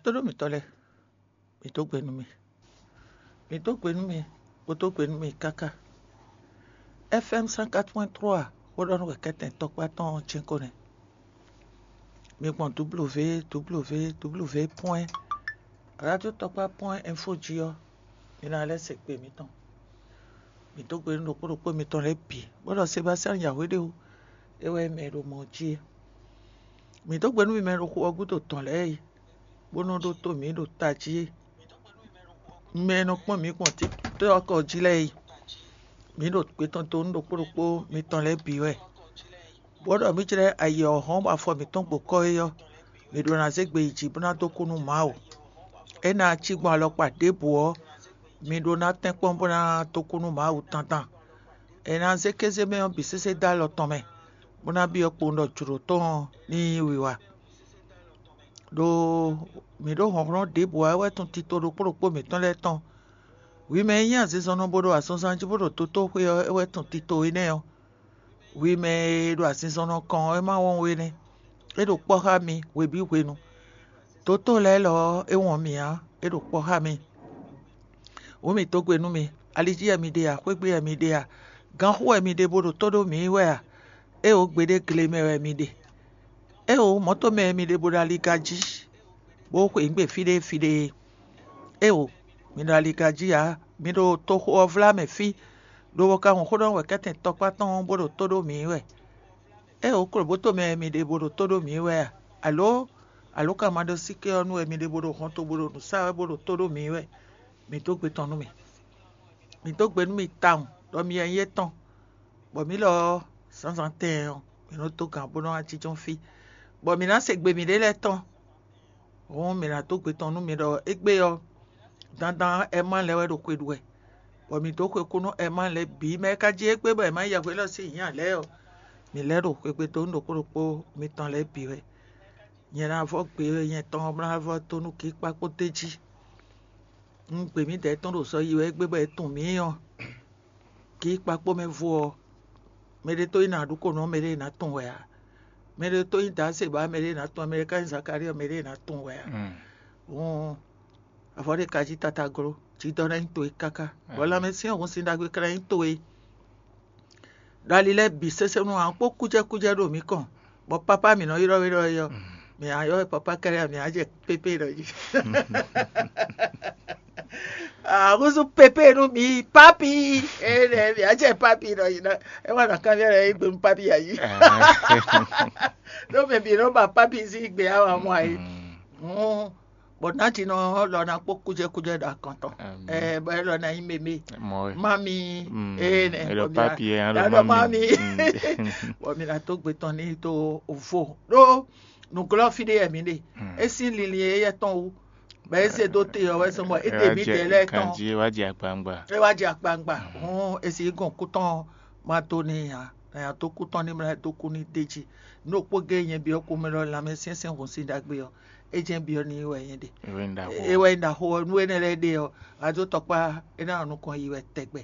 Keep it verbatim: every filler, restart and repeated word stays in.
Tóɖó mǐtɔn lɛ́ɛ, mǐ dó gbe nú mì. Mǐ dó gbe nú mì, bó dó gbe nú mì káká. F M cent quatre point trois, xó ɖɔ nú wɛ kɛ́tɛn tɔkpá tɔn ɔ́ jɛ́n ko nɛ́. Mi gbɔn W W W point radio tɔkpá point info jí ɔ́, mi ná lɛ́ se gbe mǐtɔn. Mǐ dó gbe nú ɖokpó ɖokpó mitɔn lɛ́ɛ bǐ, bó ɖɔ Sebastian Yahweh ɖé wú, é wɛ mɛ e ɖo mɔ jí é. Mǐ dó gbe nú mi mɛ e ɖo xu ɔ́ gúdo tɔn lɛ́ɛ é, bó nɔ́ ɖótó mǐ ɖo tají é. Mɛ e nɔ kpɔ́n mǐ gbɔn TikTɔ́k jí lɛ́ɛ é, mǐ ɖo gbe tɔn dó nú ɖokpó ɖokpó mitɔn lɛ́ɛ bǐ wɛ. Bó ɖɔ mǐ jlɛ́ ayǐ ɔ́ hɔ́n bɔ afɔ mǐtɔn gbo kɔ́ é ɔ́, mǐ ɖó ná zé gbe yi jǐ bó ná dó kú nú Mawu. É ná cí gbɔn alɔkpa ɖěbǔ ɔ́, mi ɖó ná tɛ́nkpɔ́n bó ná dó kú nú Mawu dandan. È nǎ zé kéze mɛ ɔ́ bǐ sésé dó alɔ tɔn mɛ, bó ná byɔ́ kpowun ɖɔ jlǒ tɔn ɔ́ ní nyí wiwa. Ɖó mǐ ɖó hlɔ̌nhlɔ́n ɖěbǔ ǎ é wɛ tun tito ɖokpó ɖokpó mǐtɔn lɛ́ɛ tɔn. Hwi mɛ e nyí azinzɔnnɔ bó ɖo azɔnzan jí bó ɖo dotóxwé ɔ́ é wɛ tun tito énɛ́ ɔ́. Hwi mɛ e ɖo azinzɔnnɔ kɔn ɔ́ é má wɔn we nɛ́. É ɖo kpɔ́ xá mi hwebǐ hwenu. Dotó lɛ́ɛ lɔ ɔ́ é wɔn mì ǎ, é ɖo kpɔ́ xá mi. Wǔ mǐ dó gbe nú mi, ali jí wɛ mi ɖe a, xwé gbe wɛ mi ɖe a, ganxú wɛ mi ɖe bó ɖo tó ɖó mǐ wɛ a? Éeǒ, gbeɖé gle mɛ wɛ mi ɖe. Éeǒ, mɔ̌to mɛ wɛ mi ɖe bó ɖo aliga jí, bó xwe nǔ gbe fí ɖé fí ɖé. Éeǒ, mi ɖo aliga jí ǎ, mi ɖo toxo ɔ́ vlá mɛ fí, lobo ka wɔn xó ɖɔ wɛ kɛ́tɛn tɔkpá tɔn bó ɖo tó ɖó mǐ wɛ. Éeǒ, klobǒto mɛ wɛ mi ɖe bó ɖo tó ɖó mǐ wɛ a? Alǒ, alǒ ka ma ɖó síké ɔ́ nu wɛ mi ɖe bó ɖo hɔnto bó ɖo nǔ sa wɛ bó ɖo tó ɖó mǐ wɛ? Mǐ dó gbe tɔn nú mì. Mǐ dó gbe nú mì tawun ɖɔ mi wɛ nyí étɔn, bɔ mǐ lɔ ɔ́, zǎnzǎn tɛɛn ɔ́, mǐ nɔ dó gǎn bó nɔ́ wá jínjɔ́n fí, bɔ mǐ ná se gbe mǐɖée lɛ́ɛ tɔn. Hǔn mǐ ná dó gbe tɔn nú mi ɖɔ égbé ɔ́, dandan Ɛmán lɛ́ɛ wɛ ɖo xwe ɖu wɛ, bɔ mǐ dó xwe kú nú Ɛmán lɛ́ɛ bǐ mɛ e ka jí égbé bɔ è má ya hwelɔ́ sín nyǐ ǎ lɛ́ɛ ɔ́, mǐ lɛ́ ɖo xwegbe dó nú ɖokpó ɖokpó mitɔn lɛ́ɛ bǐ wɛ. Nyɛ ná vɔ́ gbe nyɛ tɔn ɔ́ ná vɔ́ dó nú kíkpá kpó d'é jí. Un gbe mǐdɛɛ tɔn ɖo sɔ yi wɛ égbé bɔ è tunwun mǐ ɔ́, kíkpá kpó mɛ vo ɔ́, mɛɖé tó nyí nǎɖúkɔnú ɔ́, mɛɖé ná tunwun wɛ ǎ. Mɛɖé tó nyí Dǎsebǎ, mɛɖé ná tunwun, mɛɖé ka nyí Zakalíɔ, mɛɖé ná tunwun wɛ ǎ. Hǔn avɔ ɖé ka jí tata gló, jǐdɔ ná nyí towe káká, bɔ lanmɛsyɛ́n hun sin ɖagbe ka ná nyí towe. Ɖo ali lɛ́ɛ bǐ sésé nú ǎ kpó kújɛkújɛ ɖo mǐ kɔn, bɔ pápá mǐ nɔ ylɔ́ we ɖɔ é ɔ́, mǐ ná ylɔ́ we pápá kɛ́ɖɛ́ ǎ, mǐ ná jɛ pépé ɖɔ jí. Ahúzú pépé nú mi, pápi. Énɛ́ mǐ ná jɛ pápi ɖɔ jí ná. É wá nɔ kanbyɔ́ lɛ́ɛ yí gbe nú pápi ǎ jí. Ɖó mɛ bǐ nɔ ba pápi sín gbe á wǎ mɔ ayǐ. Bɔ nǎjínɔ lɔ ná kpó kújɛkújɛ ɖo akɔn tɔn. Ɛ bɔ é lɔ ná nyí mémé. Mɔ wɛ. Mami. Mm. Énɛ́ Ɛ ɖɔ bɔ mǐ ná- papi ɛ, ɛ ɛ ɖɔ ɖɔ mami. Mami. Mm. Bɔ mǐ ná dó gbe tɔn ní dó vo. Ɖó nǔglɔ́ fí ɖé wɛ mǐ ɖe. Mm. É sín linlin éyɛ́ tɔn wú. Bɔ é zé dó te ɔ́ wɛ sɔ́ bɔ é ɖe mǐ dɛ̌ lɛ́ɛ tɔn. Kanjí é wá jɛ akpangba. É wá jɛ akpangba. Mm. Hɔn é sí gɔn kú tɔn ma dó ní nya. Nya dó kú tɔn ní mlá dó kú ní d'é jí. Nú òkpó gé nyɛ byɔ́ kú mɛ lɔ lanmɛ syɛ́nsyɛ́n hun sín ɖagbe ɔ́, é jɛ́n byɔ́ ní wɛ nyɛ ɖe. É wɛ nyí ɖaxó. É wɛ nyí ɖaxó ɔ́, nú énɛ́ lɛ́ɛ ɖe ɔ́, a dó tɔkpá é ná nɔ nukɔn yi wɛ tɛgbɛ.